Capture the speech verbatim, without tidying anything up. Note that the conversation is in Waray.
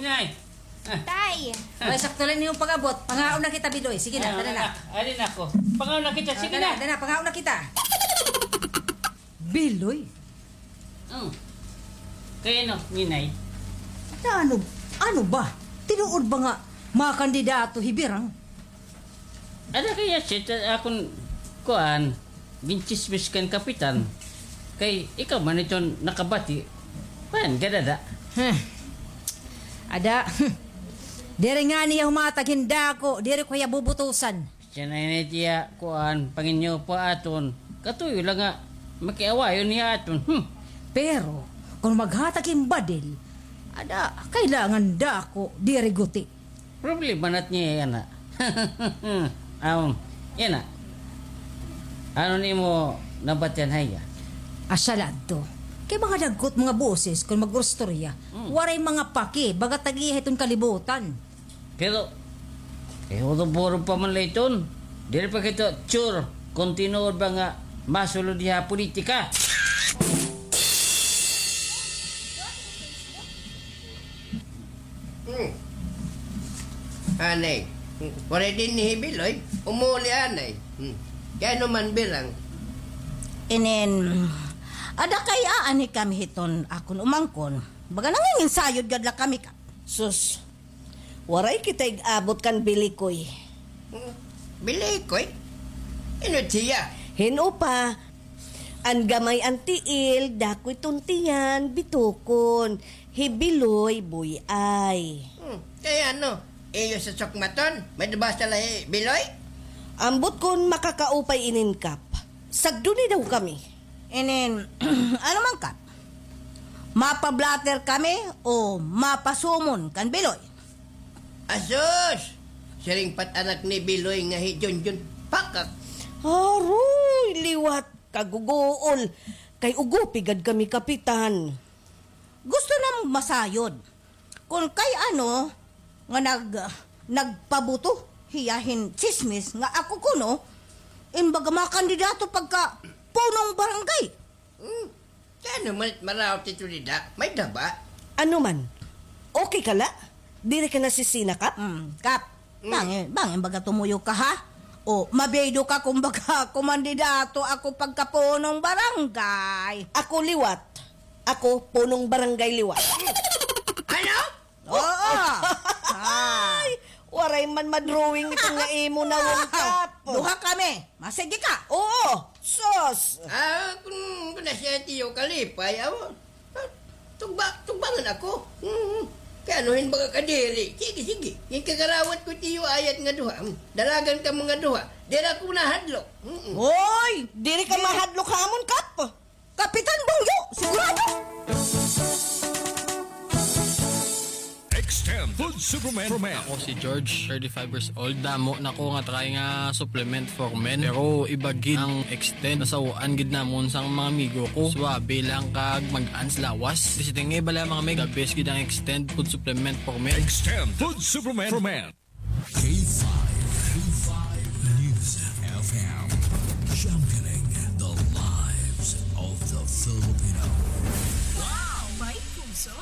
Nay! Ah. Tay! Ay, sakto la an imo pag-abot. Pangaon na kita, Biloy. Sige na, tara na. Ay, anak. Ari na ako. Pangaon na kita. Sige na. Tara na, pangaon na kita. Biloy? Oh. Kay ano, Ninay? Na ano, ano ba? Tinuod ba nga mga kandidato hi Birang? Ada kay Yasset, ah, akon kuan, ginchismis kan kapitan. Kay ikaw man iton nakabati. Kuan, gadada. Hmm. Ada. Diri ngani hiya humatag hin dako, diri ko hiya bubutusan. Siya na ini tiya, kuan, panginyo pa aton. Katuyo la nga makiawayon hiya aton. Hmm. Pero kon maghatag hin badil, ada, kailangan dako, diri guti. Problema na it niya yana. Um, yana. Ano nimo nabatian ha iya? Asya la adto. Kay mga dagko it mga boses kon mag-istorya. Hmm. Waray mga paki, baga tag-iya hiton kalibutan. Pero, eh, hurot-hurot pa man la iton. Diri pa kita sure kon tinuod ba nga masulod hiya ha politika. Hmm. Anay, waray dinhi hi Biloy. Umuli anay. Hmm. Kay ano man, Birang? Inin, ada kay aanhi kami hiton akon umangkon. Baga nanginginsayod gad la kami ka. Sus, waray kita ig-abot kan Bilikoy. Hmm. Bilikoy? Hin-o hiya? Hin-o pa, an gamay an tiil, dako iton tiyan, bitokon. Hi Biloy, buy-ay. Hmm, kay ano? Iyo sa sukmaton? May-ada ba sala hi Biloy? Ambot kon makakaupay inin, Kap. Sagdoni daw kami. Inin, ano man, Kap? Mapa-blotter kami o mapa-summon kan Biloy? Asus! Siring pa it anak ni Biloy nga hi Junjun Pakak. Aroy, liwat, kaguguol. Kay ugupi gad kami, Kapitan. Gusto namon masayod. Kon kay ano nga nag-, nagpabuto hiya hin tsismis nga ako kuno in baga mga kandidato pagka punong barangay. Hmm. Kay ano man it maraot ito dida? May-ada ba? Ano man? Okay ka la? Diri ka nasisina, Kap? Hmm, Kap. Hmm. Bangin, bangin baga tumuyo ka, ha? O, mabiyaydo ka kon baga kumandidato ako pagka punong barangay. Ako liwat. Ako punong barangay liwat. Ano? Oo. Ay, waray man ma-drawing ito nga imo nawong, Kap. Duha kami. Masigi ka. Oo. Sus. Ah, kun, kun na siya tiyo kalipay, aw. Tugba, tugbangan ako. Mm. Kay ano hin baga kadiri? Sige, sige. Ginkarawat ko tiyo ayat nga duha. Mm. Dalagan ka mga duha. Diri ako nahadlok. Mm-mm. Hoy, diri ka mahadlok ha amon, Kap. Kapitan Bungyo, sigurado! Extend Food Supplement for Men. Ako si George, thirty-five years old. Damo na ko nga try nga supplement for men. Pero iba gid ang Extend. Nasaw-an gid namon sang mga amigo ko. Suabe lang kag mag-ans lawas. Visiting nga bala mga meg. The best gid ang Extend Food Supplement for Men. Extend Food Supplement for Men. K five, K five News F M, championing the lives of the Filipino. Wow! May puso!